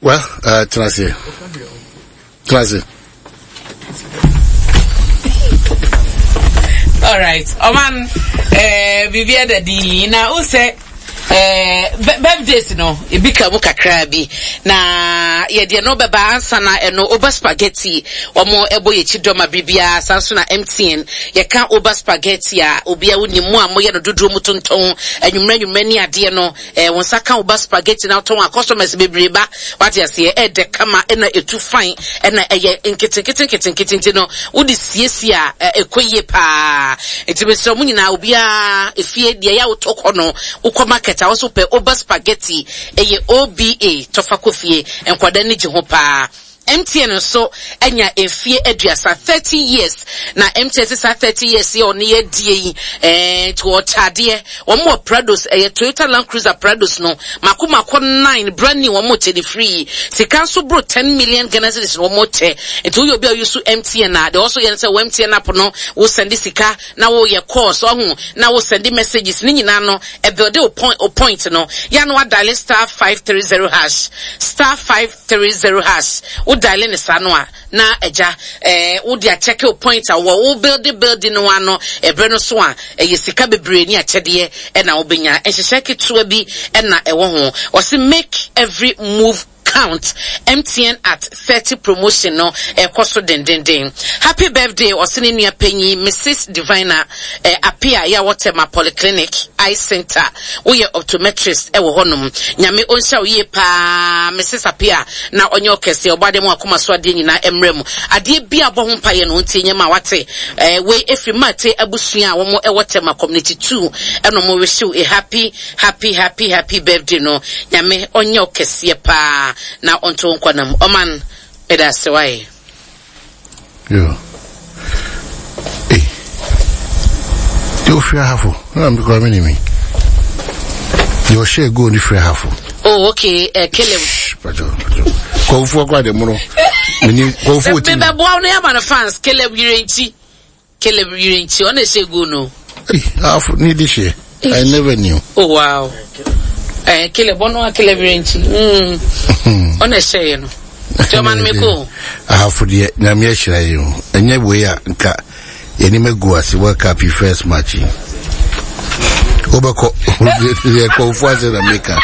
Well, tena ase. Tena ase. All right. Ɔman, biribi ada din na wo sɛ birthdays no ebi ka mu kakraa bi na yɛde ɛno bɛba ansa na ɛno oba spaghetti wɔn ɛbɔ yɛ akyi dɔma biribiara saa nso na MTN yɛka oba spaghetti a obiara wonim mu a moyɛ no dodoɔ mu tontɔn anwummerɛ anwummerɛ ne adeɛ no Eh, wo nsa ka wo ba spaghetti na wotɔn a customers bebree ba. Wate aseɛ? Ɛɛdɛ kama ɛna ɛtu fine ɛna ɛyɛ nketenkete nketenkete nti no wode siesie a ɛkɔ yie paa. Nti mesrɛ mo nyinaa obiara efie deɛ ɛyɛ a wotɔ kɔ no wokɔ market a wo nso wopɛ Oba spaghetti ɛyɛ OBA tɔfa kɔ fie nkwadaa ani gye ho paa. MTN nso anya mfie aduasa, 30 years, na MTN sɛ saa 30 years yi a ɔne yɛ adie yi, ɛɛ nti ɔkyɛ adeɛ. Wɔn wɔ Prados, ɛyɛ Toyota Land Cruiser Prados no, mako mako nine, brand new, wɔn kyɛ ne free. Sika nso boro 10 million Ghana cedis na wɔn kyɛ. Nti woyɛ obi a woyi so MTN a, deɛ ɔso yɛ no sɛ wɔ MTN app no, wo sɛnde sika, na woyɛ calls, ɔho, na wo sɛnde messages, ne nyinaa no, ɛbuilde wo point, wo point no. Yɛ a na wa dial star 530 hash, star 5 30 hash wo diale no saa no a na agya eh, wo de akyɛke wo point a wɔ wo builde builde no ano ɛberɛ no so a ɛyɛ sika bebree ne akyɛdeɛ ɛna wobɛnya nhyehyɛ ketewa bi ɛna ɛwɔ ho ɔse make every move count MTN at 30 promotion no ɛkɔ so dendenden happy birthday ɔse ne nua panyin Mrs Divina eh, Apia yɛ a wɔtɛ ma polyclinic eye center Woyɛ optometrist wɔ hɔ nom. Nyame ɔnhyira wo yie paa Mrs Appiah na ɔnyɛ wo kɛseɛ. Ɔbɔ adeɛ ma wakoma so adeɛ nyinaa mmra mu. Adeɛ biaa bɔ ho mpaeɛ no ɔntie nyɛ ma wate. Eh, wei ɛfiri Mate abusua a wɔn ɛwɔ Tema community 2 ɛna wɔn wish wo a happy happy happy happy birthday no. Nyame ɔnyɛ wo kɛseɛ paa na ɔnto wo nkwa nam. Ɔman, meda ase wae. Yo. Hey. Deɛ ofiri ahafo na mi kura mi ni mi. Deɛ ɔhyɛ goal ni firi ahafo. Oh okay, Caleb. Pacho, pacho. Kɔnfu akora de mono. Mini kɔnfu oti. Bɛ bɛ boa no yɛ ma no fans Caleb Yirenkyi. Caleb Yirenkyi ɔna ɛhyɛ goal no. Hey, ahafo ni di hyɛ. I never knew. Oh wow. Eh, Caleb ɔno a Caleb Yirenkyi. Mm. Ɔna ɛhyɛ yɛ no. Nti ɔma no me ko. Ahafo deɛ nyame ahyira yɛn o. Ɛnyɛ wei a nka yɛnim agu ase World Cup yi first match yi. Wobɛkɔ yɛ kɔnfo ase na meka.